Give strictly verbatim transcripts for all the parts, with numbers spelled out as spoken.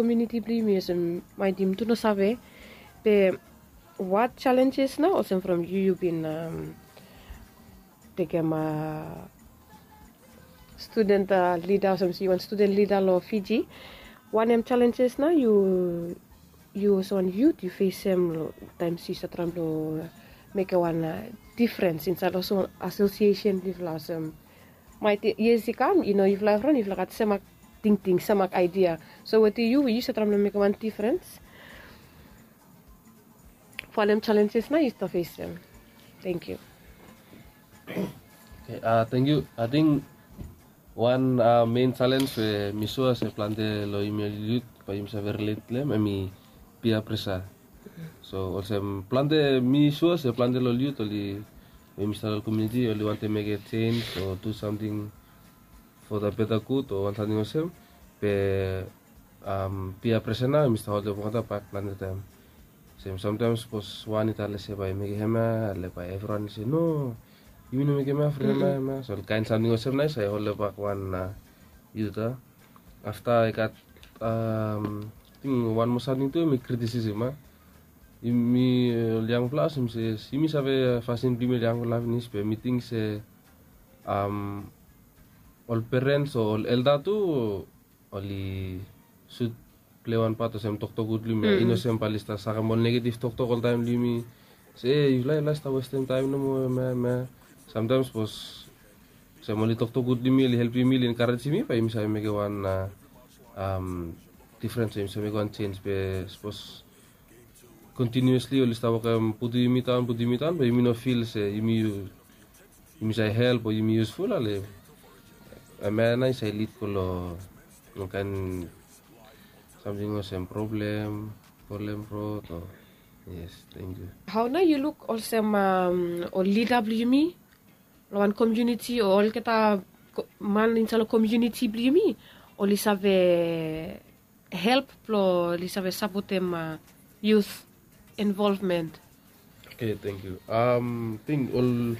Komuniti blong yumi olsem maet yumi tu no save. Be what challenges nao olsem from yu yu bin tekem studen lida olsem yu wan studen lida long Fiji? Wanem challenges nao yu yu olsem wan yut yu fesem long taem yu save traem blong mekem wan difrens insaed olsem asosiesen blong yufala olsem maet yia i kam i no yufala evriwan yufala gat semak tingting semak aidia. So wetem yu we yu save traem blong mekem wan difrens? Wanem challenges nao yu stap fesem? Thank you. Okay, uh, thank you. I think wan uh, main challenge we mi sua se plante long yumi ol yut bae yumi save relate long hem hemi peer pressure. So olsem plante mi sua se plante long ol yut oli we mi stap long komuniti oli wantem mekem change o do samting for the better good o wan samting olsem. Be um, peer pressure nao mi stap holdem olgeta bak plante taem. Olsem samtaem sapos wan i talem se bae i mekem hemia ale bae evriwan i se no, yumi no mekem hemia from hemia hemia. So ol kaen samting olsem nao i save holdem bak wan uh, yut a. Afta i gat um, ting wan moa samting tu hemi kritisisem a. Yumi ol yangfala olsem se yumi save fasin blong yumi ol yangfala finis be mi ting se um, ol perens o ol elda tu oli sud plei wan pat olsem toktok gud long yumi. I no olsem bae oli stap sakem ol negetiv toktok oltaem long yumi se e yufala yufala stap westem taem nomo hemia hemia. Samtaem sapos olsem oli toktok gud long yumi oli helpem yumi oli enkarejem yumi bae yumi save mekem wan difrens o yumi save mekem wan jenj. Be sapos kontinuesli oli stap wokem putum yumi daon putum yumi daon be yumi no fil se yumi save help o yumi yusful ale hemia nao i save lid go long ol kaen samting olsem problem, problem rod o. Yes, thank you. Hao nao yu luk olsem ol lida blong yumi long wan komuniti o olgeta man insaed long komuniti blong yumi oli save help blong oli save sapotem yut involvement? Okay, thank you. Um, ting ol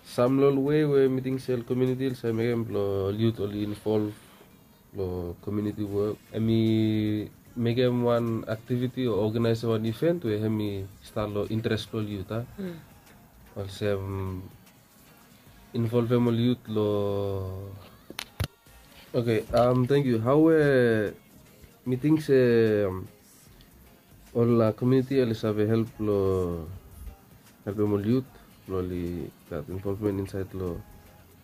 sam long ol wei we mi ting se ol komuniti oli save mekem blong ol yut oli involv long komuniti wok hemi mekem wan aktiviti o ogenaesem wan iven we hemi stap long interes blong ol yut a. Olsem involvem ol yut long. Okay, um, thank you. Hao we mi ting se um, ol komuniti oli save help long helpem ol yut blong oli gat involvmen insaed long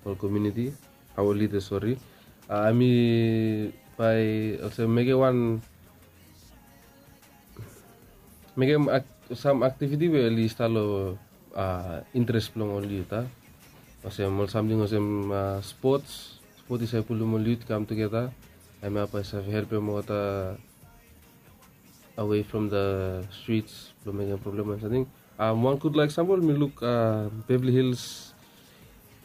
ol komuniti. Hao ol lidas sori, hemi bae olsem mekem wan mekem sam aktiviti we oli stap long interes blong ol yut a. Olsem ol samting olsem spots, spot i save pulum ol yut i kam tugeta. Hemia bae i save helpem olgeta awei from the strits blong mekem problem o samting. Wan gudfala eksampol mi luk Beverly Hills,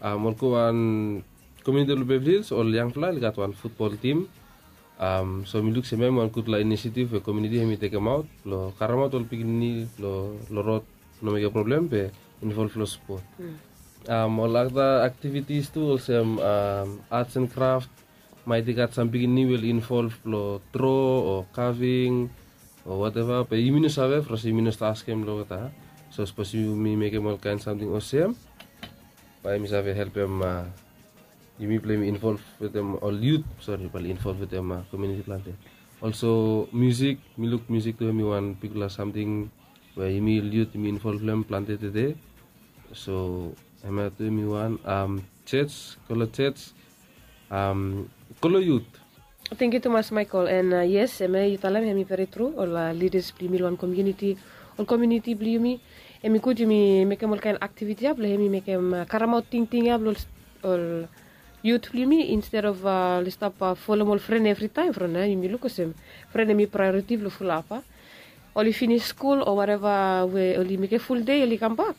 ol go wan komuniti long Beverly Hills ol yangfala oli gat wan futbol tim. So mi luk se hemia hemi wan gudfala inisiativ we komuniti hemi tekemaot blong karemaot ol pikinini long rod, no mekem problem be involv long spot. Ol ada aktivitis tu olsem arts and craft, maet i gat sam pikinini we oli involv long dro o kaving o wateva be yumi no save from se yumi no stap askem long olgeta. So sapos yumi mekem ol kaen samting olsem bae yumi save helpem yumi blong yumi involv wetem ol yut, sori, bae oli involv wetem komuniti plante. Olso musik, mi luk musik tu hemi wan bigfala samting we yumi ol yut yumi involv long hem plante tede. So hemia tu hemi wan jej, go long jej, go long yut. Tangkiu tumas Michael. And yes, hemia yu talem hemi veri tru. Ol lidas blong yumi long wan komuniti, ol komuniti blong yumi, hemi gud yumi mekem ol kaen aktiviti ya blong hemi mekem karemaot tingting ya blong ol yut blong yumi, instead of oli stap folem ol fren evritaem from ya yumi luk olsem fren hemi praeoriti blong fulap a. Oli finis skul o wateva we oli mekem fuldei oli kambak,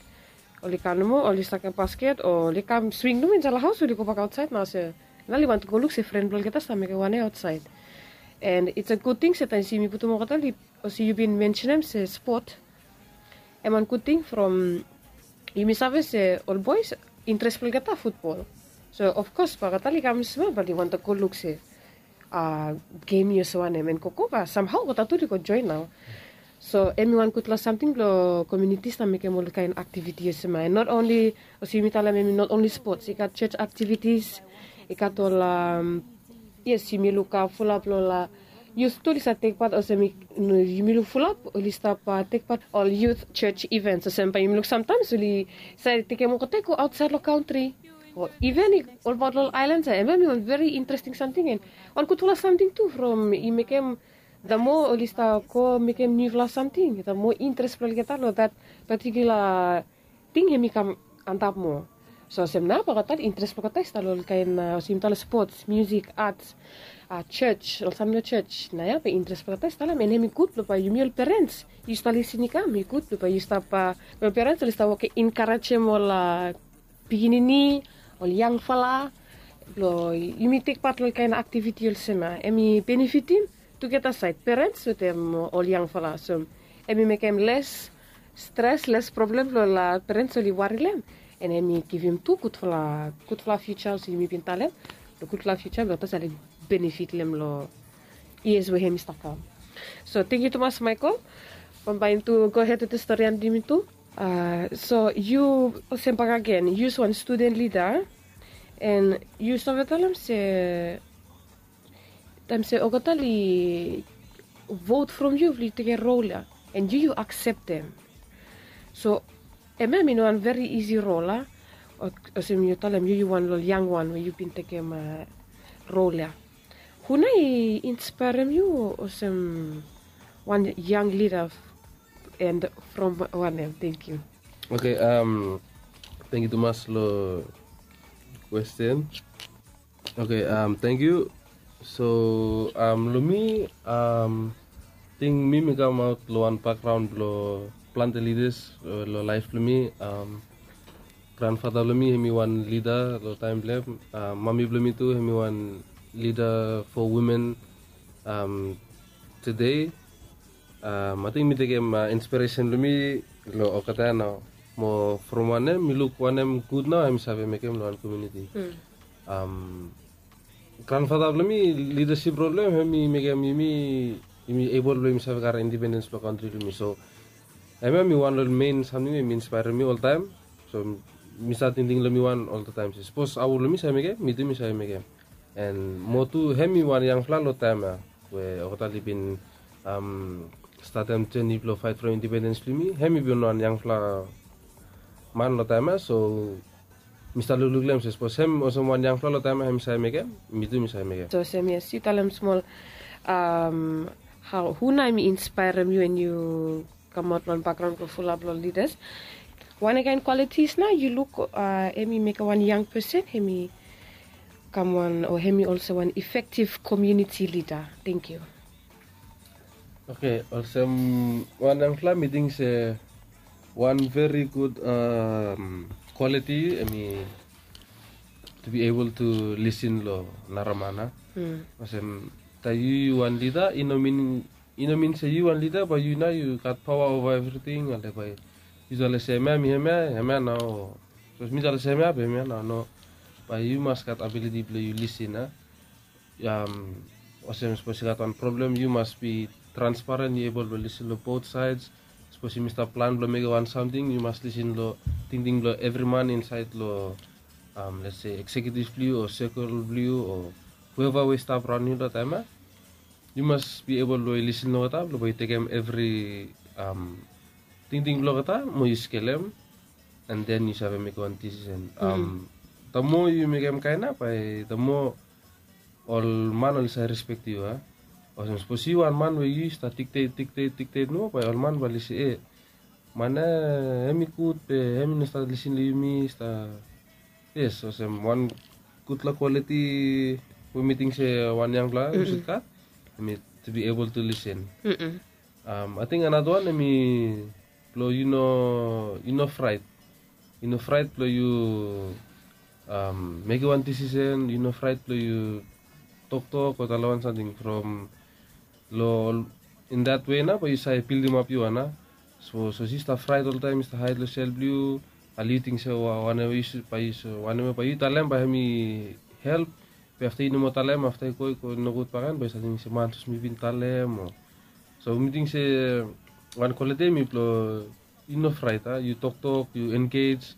oli kam nomo oli sakem basket o oli kam swing nomo insaed long haos oli gobak aotsaed nao se nao oli wantem go luk se fren blong olgeta stap mekem wanem aotsaed. And it's a gud ting se taem se yumi putum olgeta oli olsem yu bin mensenem se spot, hem wan gud ting from yumi save se ol boes interes blong olgeta futbol. So ofkos bae olgeta oli kam smol bae oli wantem go luk se gem i olsem wanem, en go kova samhao olgeta tu oli go joen nao. So em i wan gutpela samting blong komiunitis na mekem olkaen aktiviti olsem ya. En not onli olsem yumi talem em i not onli spots, i gat church aktivitis, i gat ol yes, yumi luk fulap long ol yus tu oli save tek pat olsem yumi luk fulap oli stap tek pat ol youth church events olsem bai yumi luk samtaims oli save tekem olgeta i go ausait long kantri. O iven i olbaot long ol aelan ya, em ya em i wan veri interesting samting en wan gutpela samting tu from i mekem, the more oli stap go mekem niufala samting, the more interes blong olgeta long that particular ting em i kam antap moa. So olsem nao bai olgeta interes blong olgeta i stap long ol kaen olsem yumi talem spots, musik, ats, church, ol samting long church. Na ya bai interes blong olgeta i stap long em, and em i gud blong bai yumi ol perens yu stap lisin i kam, i gud blong bai yu stap, ol perens oli stap wokim enkarejem ol pikinini, ol yangfala blong yumi tek pat long ol kaen aktiviti olsem ya. Em i benefitim tugeta saed, perens wetem ol yangfala. So em i mekem les stres, les problem long ol perens oli wari long em. And em i givim tu gudfala, gudfala fiuja olsem yumi bin talem, long gudfala fiuja blong olgeta save benefit long em long years we hem i stap kam. So tenkyu tumas Michael. Bambae yumi tu go hed wetem stori blong yumi tu. So yu olsem bakegen yu wan studen lida, and yu save talem se taem se olgeta oli vot from yu blong yu tekem rol ya, and yu yu akseptem. So em ya em i no wan veri isi rol a. Olsem yu talem yu yu wan long ol yang wan we yu bin tekem rol ya. Hu nao i inspaerem yu olsem wan yang lida, and from wanem? Tenkyu. Oke, tenkyu tumas long kwesten. Oke, tenkyu. So long mi, ting mi mi kamaot long wan bakgraon blong plante lidas long laef blong mi. Granfata blong mi hem i wan lida long taem blong hem. Mami blong mi tu hem i wan lida fo wimen tede. Ating mi tekem inspiresen blong mi long olgeta ya nao, mo from wanem mi luk wanem gud nao hem i save mekem long wan komuniti. Granfata blong mi, lidasip rol blong hem hem i mekem yumi, yumi ebol blong yumi save karem indipendens blong kantri blong yumi. So hem ya hem i wan long ol men samting we hem i inspaerem mi oltaem. So mi save tingting long mi wan oltaem se sapos aua long mi save mekem, mi tu mi save mekem. And mo tu hem i wan yangfala long taem ya we olgeta oli bin statem jeni blong faet from indipendens blong yumi. Hem i bin wan yangfala man long taem ya. So mi stap lukluk long hem se sapos hem olsem wan yangfala long taem ya hem i save mekem, mi tu mi save mekem. So olsem yes, yu talem smol hao, hu nao hem i inspaerem yu and yu kamaot long wan bakgraon blong fulap long lidas. Wanem kaen kwalitis nao yu luk hem i mekem wan yang pesen hem i kam wan, o hem i olsem wan efektiv komuniti lida? Tenkyu. Oke, olsem wan yangfala mi ting se wan veri gud kwaliti hem i to be able to lisin long nara man a. Olsem taem yu yu wan lida, i no min, i no min se yu wan lida bae yu nao yu gat paoa ova evriting, ale bae yu talem se hemia mi hemia, hemia nao. Sapos mi talem se hemia bae hemia nao, no. Bae yu mas gat abiliti blong yu lisin a. Olsem sapos i gat wan problem yu mas be transparen, yu ebol blong lisin long bot saed. Sapos yumi stap plan blong mekem wan samting, yu mas lisin long tingting blong evri man insaed long, let's say, eksekiutiv blong yu o sekol blong yu o hueva we i stap raon yu long taem ya. Yu mas be ebol blong yu lisin long olgeta blong bae yu tekem evri tingting blong olgeta mo yu skelem, and then yu save mekem wan disisen. The more yu mekem kaen ya, bae the more ol man oli save respek yu a. Olsem sapos yu wan man we yu stap diktet, diktet, diktet nomo, bae ol man bae oli se, e, man ya hem i gud be hem i no stap lisin long yumi, stap. Yes, olsem wan gudfala kwaliti we mi ting se wan yangfala yu sud gat, hem i to be able to lisin. Ating another wan hem i blong yu no, yu no fraet. Yu no fraet blong yu mekem wan disisen, yu no fraet blong yu toktok o talem wan samting from long, in that way nao bae yu save bildimap yu wan a. Sapos yu stap fraet oltaem, yu stap haed long sel blong yu, ale yu ting se wanem we yu talem bae hem i help, Be afta yu no moa talem, afta i go i go nogud baken, bae yu save ting se man sapos mi bin talem o. So mi ting se wan kwaliti ya mifala i no fraet a, yu toktok, yu engej.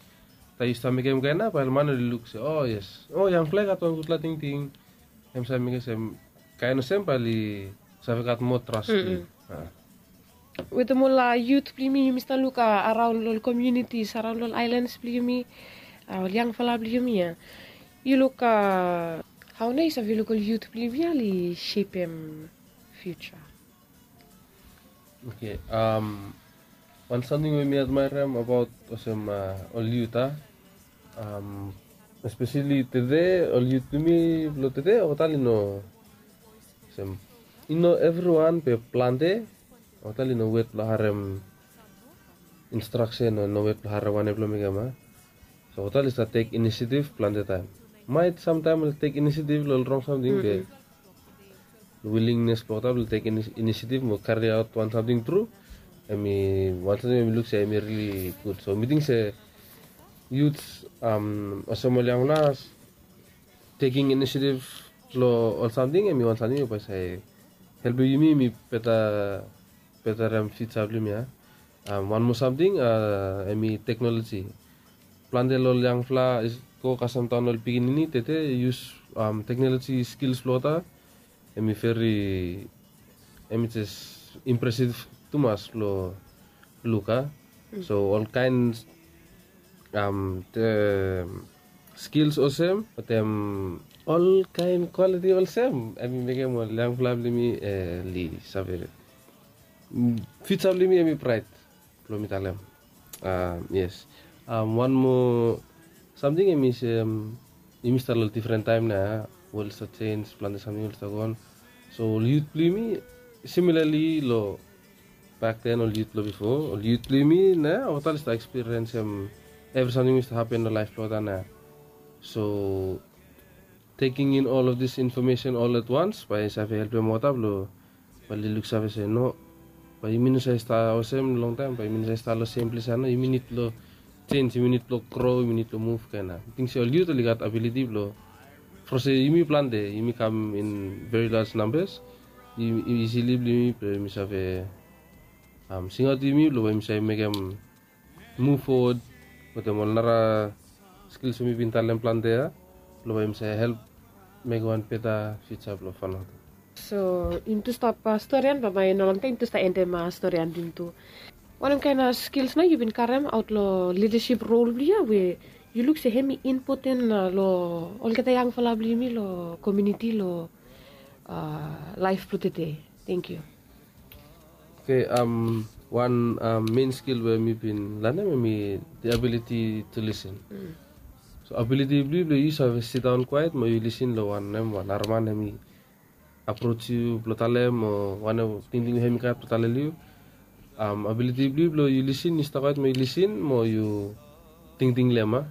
Taem yu stap mekem kaen nao bae ol man oli luk se o yes, o yangfala i gat wan gudfala tingting. Hem save mekem se kaen olsem bae oli save gat moa tras long yu. Wetem ol yut blong yumi, yumi stap luk araon long ol komiunitis, araon long ol aelans blong yumi, ol yangfala blong yumi ya, yu luk hao nao yu save luk ol yut blong yumi ya oli sepem fiuja? Oke. Wan samting we mi admaerem abaot olsem ol yut a, espeseli tede, ol yut blong yumi blong tede olgeta oli no olsem, i no evriwan be plante olgeta oli no wet blong harem instraksen o no wet blong harem wanem blong mekem a. So olgeta oli stap tek inisiativ plante taem. Maet samtaem oli tek inisiativ long ol rong samting be wilingnes blong olgeta blong tek inisiativ mo kariaot wan samting tru, hem i wan samting we mi luk se hem i rili gud. So mi ting se yut olsem ol yangfala teking inisiativ long ol samting hem i wan samting we bae save helpem yumi, yumi beta, betarem fiuja blong yumi ya. Wan moa samting hem i teknoloji. Plante long ol yangfala i go kasem daon ol pikinini tede i yus teknoloji skils blong olgeta, hem i veri, hem i jes impresiv tumas blong luk a. So olkaen skils olsem wetem olkaen kwaliti olsem hem i mekem ol yangfala blong yumi oli save, fiuja blong yumi hem i braet. Blong mi talem. Yes. Wan moa samting hem i se yumi stap long difren taem nao ya, wol i stap jenj, plante samting oli stap goon. So ol yut blong yumi, similali long bakden ol yut blong bifo, ol yut blong yumi nao olgeta oli stap ekspiriensem evri samting we i stap hapen long laef blong olgeta nao. So teking in ol of dis infomesen ol at wans bae i save helpem olgeta blong bae oli luksave se no, bae yumi no save stap olsem longtaem, bae yumi no save stap long sem ples ya nao. Yumi nid blong jenj, yumi nid blong gro, yumi nid blong muv kaen nao. Mi ting se ol yut oli gat abiliti blong, from se yumi plante, yumi kam in veri laj nambas, i isili blong yumi blong yumi save singaot yumi blong bae yumi save mekem muv fowod wetem ol nara skils we mi bin talem plante ya blong bae yumi save help mekem wan beta fiuja blong Vanuatu. So yumi tu stap storian, bambae no longtaem yumi tu stap endem storian blong yumi tu. Wanem kaen skils nao yu bin karemaot long lidasip rol blong yu ya we yu luk se hem i impoten long olgeta yangfala blong yumi long komuniti long laef blong tede? Tangkiu. Oke, wan men skil we mi bin lanem hem i the ability to listen. So abiliti blong yu blong yu save sidaon kwaet mo yu lisin long wanem wan nara man hem i aproj yu blong talem o wanem tingting we hem i gat blong talem long yu. Abiliti blong yu blong yu lisin, yu stap kwaet mo yu lisin mo yu tingting long hem a.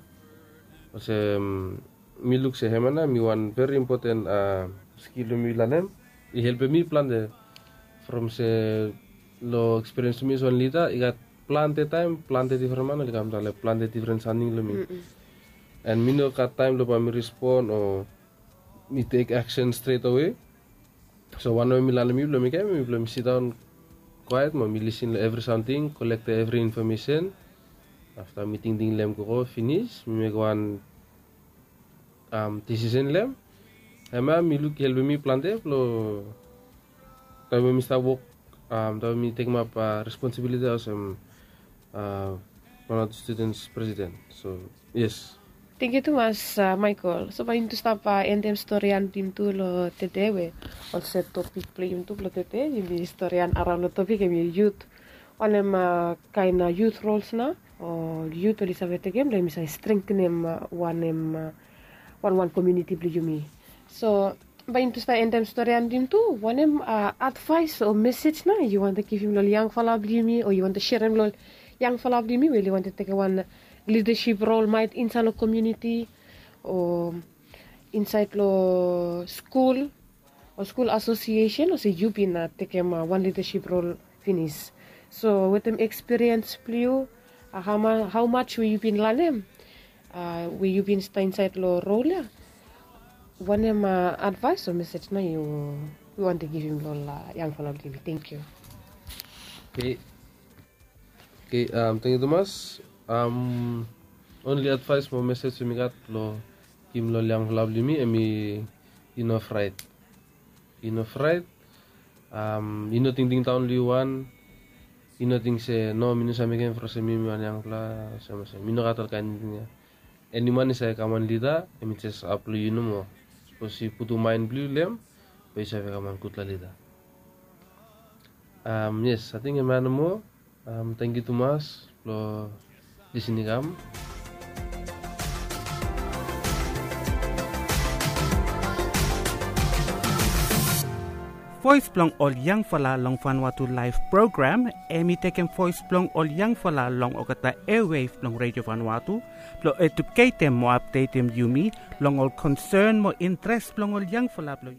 Olsem mi luk se hemia nao hem i wan veri impoten skil we mi lanem. I helpem mi plante from se long ekspiriens blong mi olsem wan lida i gat plante taem plante difren man oli kam talem plante difren samting long mi. An mi no gat taem long bae mi respon o mi tek aksen stret awe. So wanem we mi lanem mi blong mekem hem i blong mi sidaon kwaet mo mi lisin long evri samting, kolektem evri infomesen. Afta mi tingting long hem gogo finis, mi mekem wan disisen long hem. Hemia mi luk i helpem mi plante blong taem we mi stap wok, taem we mi tekemap responsibiliti olsem Vanuatu Students President. So yes. Tangkiu tumas Michael. So bae yumi tu stap endem storian blong yumi tu long tede we olsem topik blong yumi tu blong tede yumi storian araon long topik hem i yut. Wanem kaen yut rols nao o yut oli save tekem blong yumi save strengtenem wanem wanwan komuniti blong yumi. So bae yumi tu stap endem storian blong yumi tu, wanem advaes o mesej nao yu wantem givim long ol yangfala blong yumi o yu wantem serem long ol yangfala blong yumi we oli wantem tekem wan lidasip rol maet insaed long komuniti o insaed long skul o skul asosiesen olsem yu bin tekem wan lidasip rol finis. So wetem ekspiriens blong yu, hao maj we yu bin lanem we yu bin stap insaed long rol ya, Wanem advaes o mesej nao yu wantem givim long ol yangfala blong yumi? Tenkyu. Oke. Oke, tenkyu tumas. Onli advaes mo mesej we mi gat long givim long ol yangfala blong yumi em i, i no fraet. I no fraet. I no tingting daon long yu wan. I no ting se no, mi no save mekem from se mi mi wan yangfala olsem olsem. Mi no gat ol kaen tingting ya. Eni man i save kam wan lida, em i jes hap long yu nomo. Sapos yu putum maen blong yu long em, bae yu save kam wan gudfala lida. Yes, ating em ya nomo. Tenkyu tumas blong lisin i kam. Voes blong ol yangfala long Vanuatu Laef program, em i tekem voes blong ol yangfala long olgeta airwave blong Redio Vanuatu blong eduketem mo apdetem yumi long ol konsen mo intres blong ol yangfala blong